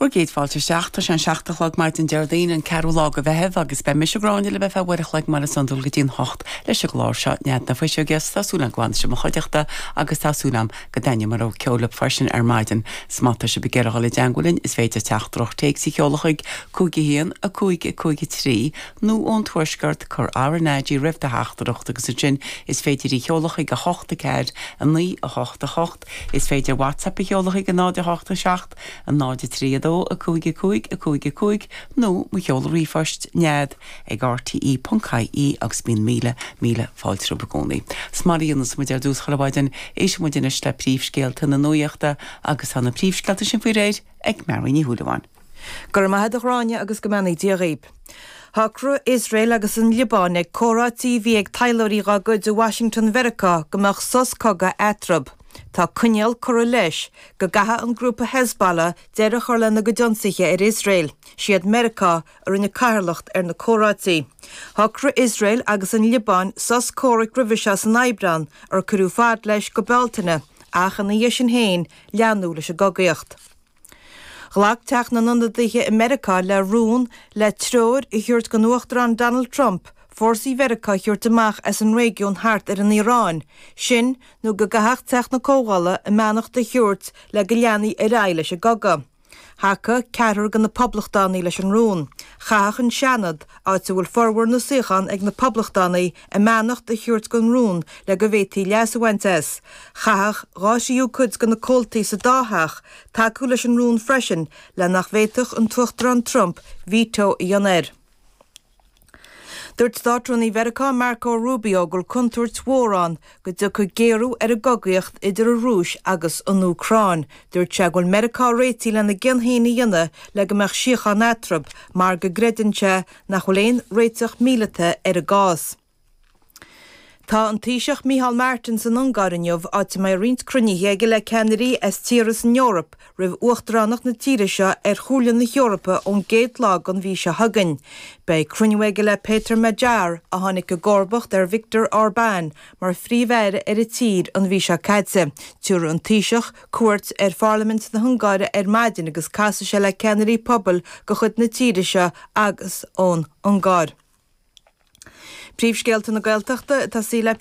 Bhur gcéad fáilte isteach. Tá sé an 7 a chlog maidin Déardaoin an ceathrú lá de Mheitheamh agus beidh mise Gráinne libh ar feadh uair a chloig mar is iondúil go dtí an hocht leis an gclár seo Nead na Fuiseoige 's tá súil agam go bhfanfaidh sibh i mo chuideachta agus tá súil agam go dtaitneoidh mo rogha ceoil libh freisin ar maidin. 'S má tá sibh ag iarraidh dhul i dteangmháil linn is féidir teachtaireacht téacs a sheoladh chuig 5 1 5 5 3 nó ón Tuaisceart cuir RnaG roimh do theachtaireacht agus ansin is féidir í sheoladh chuig 8 4 9 8 8. Is féidir WhatsApp a sheoladh chuig 0 8 7 0 3 2 5 5 5 5 nó mo sheoladh ríomhphoist, nead ag rte.ie agus bíonn míle, míle fáilte romhaibh i gcónaí. 'S mar a dhéanas muid ar dtús chuile mhaidin, éistfidh muid anois le príomhscéalta na nuachta agus tá na príomhscéalta sin faoi réir ag Mary Ní Shúilleabháin. Go raibh maith a't a Ghráinne agus go mbeannaí Dia dhaoib. Shocraigh Iosrael agus an Liobáin ag comhráití a bhí ag taidhleoirí dá gcuid i Washington Mheiriceá go mbeadh sos cogaidh eatarthu. Tá coinníoll curtha leis, go gcaithfidh an grúpa Hezbollah deireadh a chur lena gcuid ionsaithe ar Iosrael. Siad Meiriceá a rinne cathaoirleacht ar na comhráití. Shocraigh Iosrael agus an Liobáin sos comhraic roimhe seo san Aibreán, ar cuireadh fad leis go Bealtaine, ach ina dhiaidh sin féin leanadh leis an gcogaíocht. Ghlac Teach na nIonadaithe i Meiriceá le rún le treoir a thabhairt don Uachtarán Donald Trump fórsaí Mheiriceá a thabhairt amach as an réigiún thart ar an Iaráin, sin nó go gcaithfeadh Teach na Comhdhála a mbeannacht a thabhairt le go leanfaí ar aghaidh leis an gcogadh. Thacaigh ceathrar de na Poblachtánaigh leis an rún. Chaithfeadh an Seanad, áit a bhfuil formhór na suíochán ag na Poblachtánaigh, a mbeannacht a thabhairt don rún le go bhféadfaí leas a bhaint as. Chaithfeadh dhá thríú cuid de na comhaltaí sa dá theach tacú leis an rún freisin le nach bhféadfadh an tUachtarán Trump veto a dhéanamh air. Dúirt Státrúnaí Mheiriceá Marco Rubio go bhfuil contúirt mhór ann go dtiocfaidh géarú ar an gcogaíocht idir an Rúis agus an Úcráin. Dúirt sé go bhfuil Meiriceá réitithe lena gcion féin a dhéanamh le go mbeadh síocháin eatarthu mar go gcreideann sé nach bhfuil aon réiteach míleata ar an gcás. Tá an Taoiseach Micheál Martin san Ungáir inniu, áit a mbeidh roinnt cruinnithe aige le ceannairí as tíortha san Eoraip roimh uachtaránacht na tíre seo ar Chomhairle na hEorpa ón gcéad lá den mhí seo chugainn. Beidh cruinniú aige le Péter Magyar, a tháinig i gcomharbacht ar Viktor Orbán mar phríomh-aire ar an tír an mhí seo caite. Tabharfaidh an Taoiseach cuairt ar Pharlaimint na hUngáire ar maidin agus casfaidh sé le ceannairí pobail de chuid na tíre seo agus ón Ungáir. Príomhscéalta na Gaeltachta ag tosaí le.